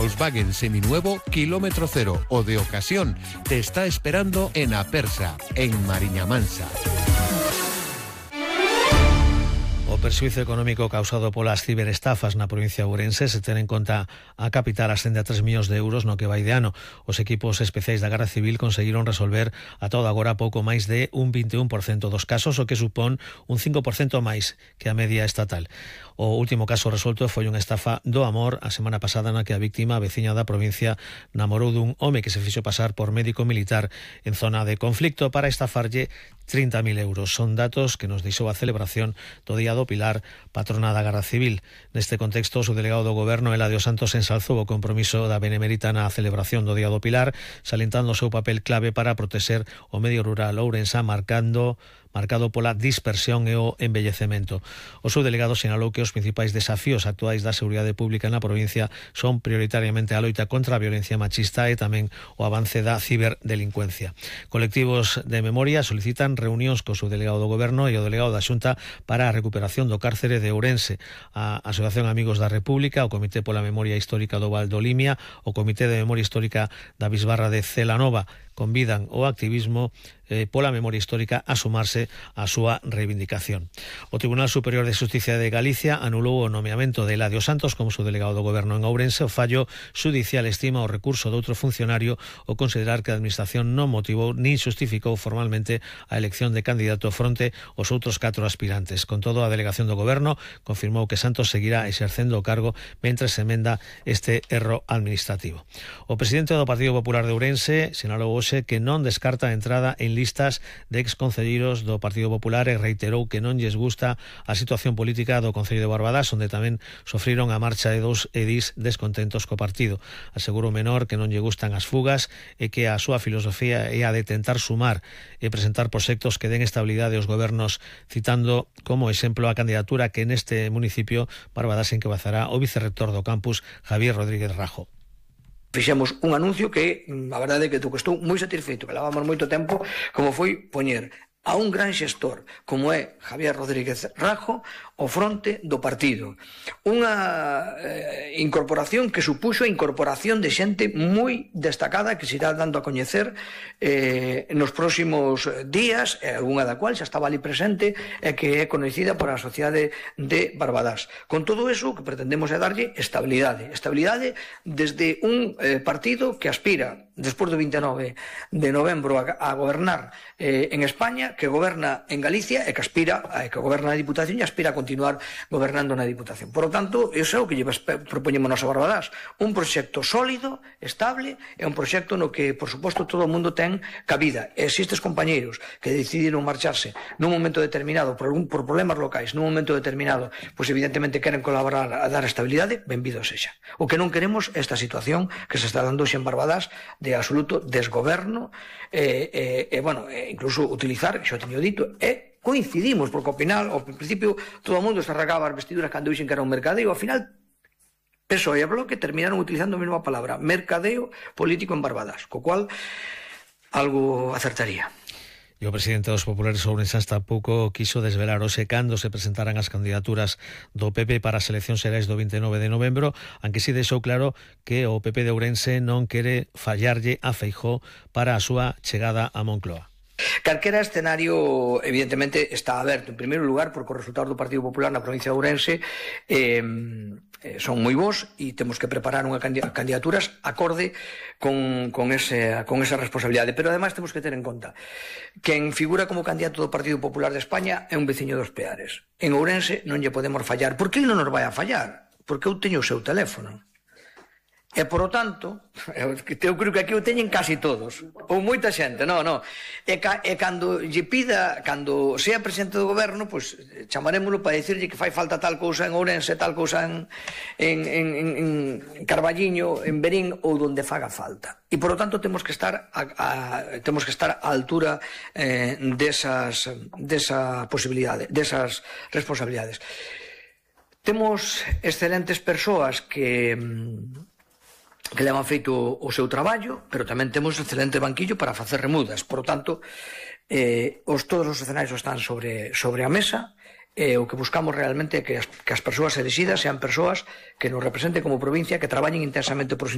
Volkswagen seminuevo kilómetro cero o de ocasión te está esperando en Apersa, en Mariña Mansa. O perxuízo económico causado polas ciberestafas na provincia de Ourense, se ten en conta a capital, ascende a 3 millóns de euros no que vai de ano. Os equipos especiais da Garda Civil conseguiron resolver a todo agora pouco máis de un 21% dos casos, o que supón un 5% máis que a media estatal. O último caso resolto foi unha estafa do amor a semana pasada na que a víctima, a veciña da provincia, namorou dun home que se fixo pasar por médico militar en zona de conflicto para estafarlle 30.000 euros. Son datos que nos deixou a celebración do Día do Pilar, patrona da Garda Civil. Neste contexto, o subdelegado do Goberno, Eladio Santos, ensalzou o compromiso da Benemérita na celebración do Día do Pilar, salentando o seu papel clave para protexer o medio rural ourensá, marcado pola dispersión e o envellecemento. O subdelegado sinalou que os principais desafíos actuais da seguridade pública na provincia son prioritariamente a loita contra a violencia machista e tamén o avance da ciberdelincuencia. Colectivos de memoria solicitan reunións co subdelegado do Goberno e o delegado da Xunta para a recuperación do cárcere de Ourense. A Asociación Amigos da República, o Comité pola Memoria Histórica do Val do Limia, o Comité de Memoria Histórica da Bisbarra de Celanova convidan o activismo pola memoria histórica a sumarse á súa reivindicación. O Tribunal Superior de Xusticia de Galicia anulou o nomeamento de Eladio Santos como subdelegado do Goberno en Ourense. O fallo xudicial estima o recurso de outro funcionario ao considerar que a Administración non motivou nin xustificou formalmente a elección de candidato fronte aos outros 4 aspirantes. Con todo, a delegación do Goberno confirmou que Santos seguirá exercendo o cargo mentre se emenda este erro administrativo. O presidente do Partido Popular de Ourense sinalou hoxe que non descarta a entrada en listas de exconcelleiros do Partido Popular e reiterou que non lles gusta a situación política do Concello de Barbadás, onde tamén sofriron a marcha de 2 edís descontentos co partido. Asegurou Menor que non lle gustan as fugas e que a súa filosofía é a de tentar sumar e presentar proxectos que den estabilidade aos gobernos, citando como exemplo a candidatura que neste municipio Barbadás encabezará o vicerrector do campus, Javier Rodríguez Rajo. Fixemos un anuncio que, a verdade é que estou moi satisfeito, que levamos moito tempo, como foi poñer a un gran xestor como é Javier Rodríguez Rajo ao fronte do partido. Unha incorporación que supuxo a incorporación de xente moi destacada que se irá dando a coñecer nos próximos días, algunha da cual xa estaba ali presente e que é conhecida por a sociedade de Barbadás. Con todo eso, o que pretendemos é darlle estabilidade desde un partido que aspira despois do 29 de novembro a gobernar en España, que goberna en Galicia e que goberna na Diputación e aspira a continuar gobernando na Diputación. Por lo tanto, iso é o que propoñemos nos a Barbadás, un proxecto sólido, estable, e un proxecto no que, por suposto, todo o mundo ten cabida. E se estes compañeiros que decidiron marcharse nun momento determinado por problemas locais, nun momento determinado, pois evidentemente queren colaborar a dar estabilidade, benvido sexa. O que non queremos é esta situación que se está dando xe en Barbadás de absoluto desgoberno incluso utilizar, xo teño dito, coincidimos, porque ao final, ao principio, todo o mundo se arrancaba as vestiduras cando dixen que era un mercadeo, ao final, PSOE e Bloque terminaron utilizando a mesma palabra, mercadeo político en Barbadás, co cual algo acertaría. E o presidente dos populares ourensáns tampouco quiso desvelar hoxe cando se presentaran as candidaturas do PP para as eleccións xerais do 29 de novembro, aunque si deixou claro que o PP de Ourense non quere fallarlle a Feijóo para a súa chegada a Moncloa. Calquera escenario, evidentemente, está aberto. En primeiro lugar, porque os resultados do Partido Popular na provincia de Ourense son moi bons e temos que preparar unha candidaturas acorde con esa responsabilidade. Pero, ademais, temos que ter en conta quen figura como candidato do Partido Popular de España é un veciño dos Peares. En Ourense non lle podemos fallar. Por que ele non nos vai a fallar? Porque eu teño o seu teléfono. E, por o tanto, eu creo que aquí o teñen casi todos, ou moita xente, e cando lle pida, cando sea presidente do goberno, pois chamarémoslo para dicirlle que fai falta tal cousa en Ourense, tal cousa en Carballiño, en Verín, ou donde faga falta. E, por o tanto, temos que estar á altura desa posibilidade, desas responsabilidades. Temos excelentes persoas que levan feito o seu traballo, pero tamén temos excelente banquillo para facer remudas. Por lo tanto, todos os escenarios están sobre a mesa. o que buscamos realmente é que as persoas elegidas sean persoas que nos representen como provincia, que traballen intensamente por